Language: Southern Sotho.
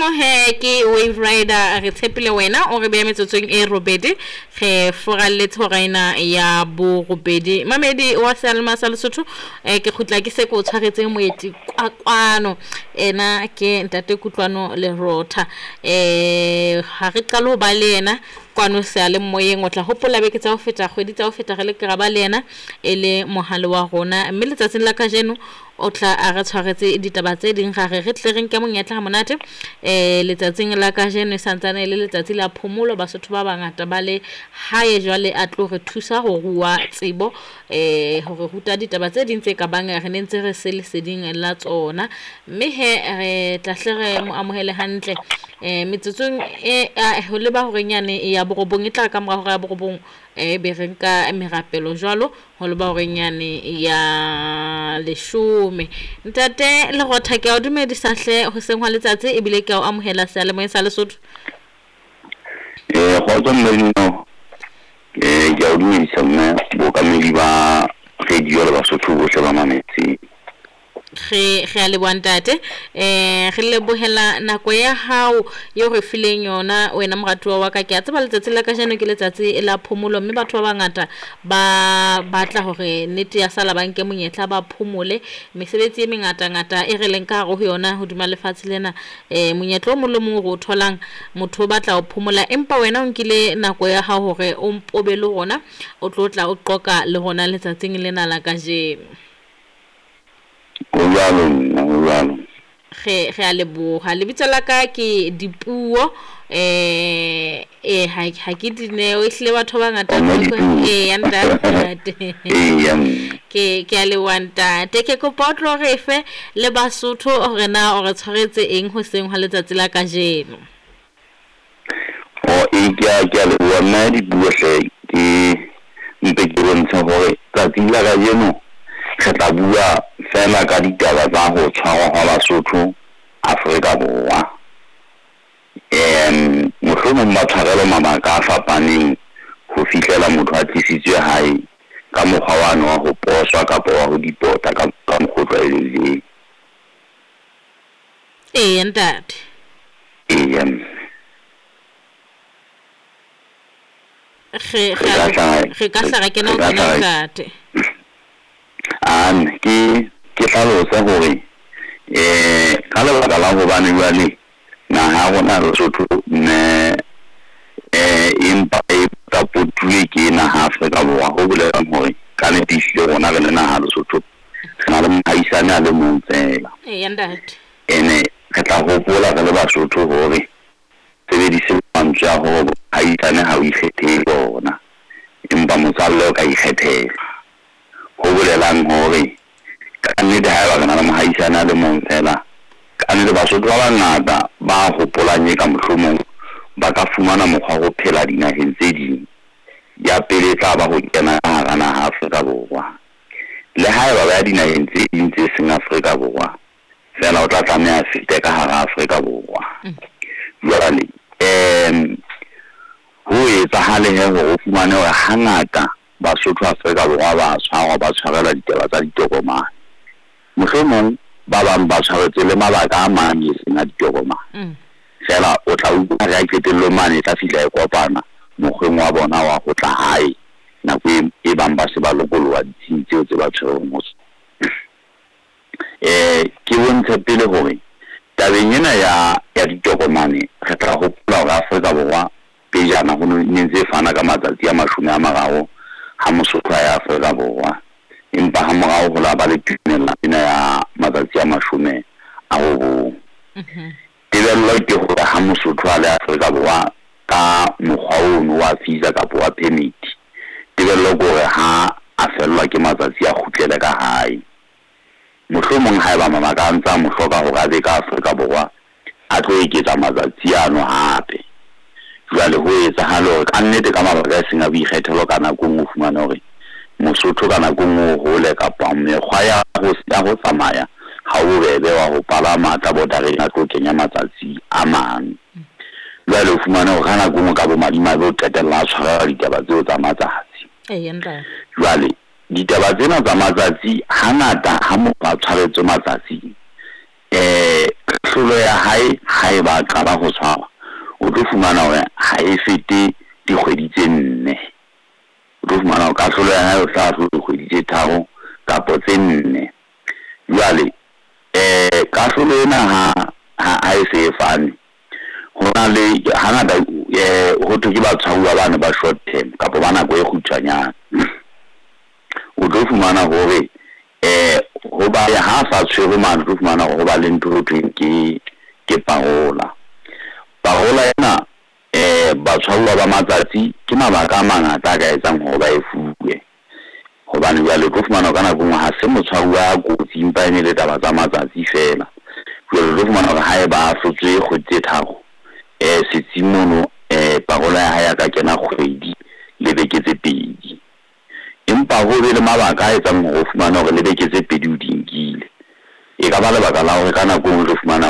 Mmino he ke Wave Rider re tshepile wena o re beya metsotsong e robedi re foralletse hora ena ya borobedi. Mamedi wa seyalemoya sa Lesotho ke kgutla ke se ke o tshwaretse moeti kwakwano ena ke ntate Kutlwano Lerotha. Ha re qale ho ba le yena kwano seyalemoyeng, o tla hopola beke tsa ho feta, kgwedi tsa ho feta re le ke ra ba le yena e le mohale wa rona, mme letsatsing la kajeno o tla a re tshwaretse ditaba tse ding, ra re re tle re nke monyetla ha monate. Letsatsing la kajeno e santsane e le letsatsi la phomolo, Basotho ba bangata ba le hae jwale a tlo re thusa ho rua tsebo, ho re ruta ditaba tse ding tse ka bang re ne ntse re se leseding la tsona, mme he re tla hle re mo amohele hantle. Metsotsong e ho leba horeng yane ya borobong, e tla ka mora hora ya borobong, be re nka merapelo jwalo ho leba horeng yane ya leshome. Ntate Lerotha, ke a o dumedisa hle hoseng hwa letsatsi, ebile ke a o amohela seyalemoyeng sa Lesotho. Kgotso mme Dineo. Ke a o dumedisa mme bookamedi ba radio le Basotho bohle ba mametseng. Re a leboha ntate. Re lebohela nako ya hao eo re fileng yona wena moratuwa wa ka. Ke a tseba letsatsi la kajeno ke letsatsi la phomolo, mme batho ba bangata ba batla hore nnete ya sala ba nke monyetla ba phomole. Mesebetsi e mengatangata e re leng ka hare ho yona hodima lefatshe lena, monyetla o mong le mong o re o tholang, motho o batla ho phomola, empa wena o nkile nako ya hao hore o mpobe le rona, o tlo tla o qoka le rona letsatsing lena la kajeno. Ho jwalo mme, ho jwalo. Re a leboha. Lebitso la ka ke Dipuo, ha ke Dineo, ehlile batho ba bangata ya ntate. Ke a leboha ntate. Ke kopa o tlo re fe le Basotho hore na o re tshwaretse eng hoseng hwa letsatsi la kajeno. Ke a leboha mme Dipuo hle, ke mpe ke bontshe hore tsatsi la kajeno re tla bua fela ka ditaba tsa ho tshwarwa hwa Basotho Afrika Borwa. Mohlomong ba tshwarelwa mabaka a fapaneng ho fihlela motho a tlisitswe hae ka mokgwa wane wa ho poswa kapa wa ho dipota ka mokgwa o tlwaelehileng. Eya ntate. Eya mme. Re ka hla ra kena ho tsona ntate. Ke hlalose hore ka lebaka la hobane jwale naha ya rona Lesotho mme empa e potapotuwe ke naha Afrika Borwa, ho bolelang hore ka nnete ehlile rona re le naha Lesotho re na le mohaisane a le mong feela. Eya ntate. Ene re tla hopola re le Basotho hore sebedise mantswe a hore mohaisane ha o ikgethele bona, empa motswalle o ka ikgethela. Ho bolelang hore ka nnete haeba re na le mohaisane a le mong feela, ka nnete Basotho ba bangata ba hopolang e ka mohlomong ba ka fumana mokgwa wa ho phela dinaheng tse ding. Ya pele e tla ba ho kena ka hara naha Afrika Borwa. Le haeba ba ya dinaheng tse ding tse seng Afrika Borwa, feela o tla tlameha a fete ka hara Afrika Borwa. Jwale ho etsahale he hore o fumane hore hangata Basotho Afrika Borwa ba tshwarwa, ba tshwarelwa ditaba tsa ditokomane. Mohlomong ba bang ba tshwaretswe le mabaka a mang e seng a ditokomane. Feela o tla utlwa re a qetellong mane e tla fihla e kopana mokgweng wa bona wa ho tla hae nako e bang ba se ba lokoloha ditsheng tseo tse ba tshwereng ho tsona. Ke bontshe pele hore tabeng ena ya ditokomane re tla hopola hore Afrika Borwa pejana ho ne ntse e fana ka matsatsi a 30 ha Mosotho a ya Afrika Borwa, empa ha morao ho la ba le tumellano ena ya matsatsi a 90. Tebello ke hore ha Mosotho a le Afrika Borwa ka mokgwa ono wa visa kapa wa permit, tebello ke hore ha a fellwa ke matsatsi a kgutlele ka hae. Mohlomong haeba mabaka a ntse a mo hloka hore a be ka Afrika Borwa, a tlo eketsa matsatsi ano hape. Jwale ho etsahale hore ka nnete ka mabaka a seng a boikgethelo ka nako e nngwe o fumane hore Mosotho ka nako e nngwe o hole kapa mekgwa ya ho tsamaya ha o bobebe wa ho palama a tla bordereng a tlo kenya matsatsi a mang. Jwale o fumane hore ka nako e nngwe ka bomadimabe o qetella a tshwarelwa ditaba tseo tsa matsatsi. Jwale ditaba tsena tsa matsatsi hangata ha motho a tshwaretswe matsatsi, Kahlolo ya hae ha e ba qala ho tshwarwa, o tlo fumana hore ha e fete dikgwedi tse 4. O tlo fumana hore kahlolo ya hae o tla ahlolwa dikgwedi tse 3 kapa tse 4. Jwale kahlolo ena ha e se e fane, ho na le hangata ho thwe ke batshwaruwa bana ba short term kapa ba nako e kgutshwanyane. O tlo fumana hore ho ba ha sa tshwerwe mane, o tlo fumana hore ho ba le ntho ho thweng ke parola. Parola ena batshwaruwa ba matsatsi ke mabaka a mangata a ka etsang hore ba e fuwe. Hobane jwale o tlo fumana ka nako e nngwe ha se motshwaruwa a kotsi, empa e ne le taba tsa matsatsi feela. Jwale o tlo fumana hore ha eba a ahlotswe kgwedi tse 3 setsing mono parola ya hae a ka kena kgwedi le beke tse 2. Empa ho be le mabaka a etsang hore o fumane hore le beke tse 2 o di nkile. E ka ba lebaka la hore ka nako e nngwe o tlo fumana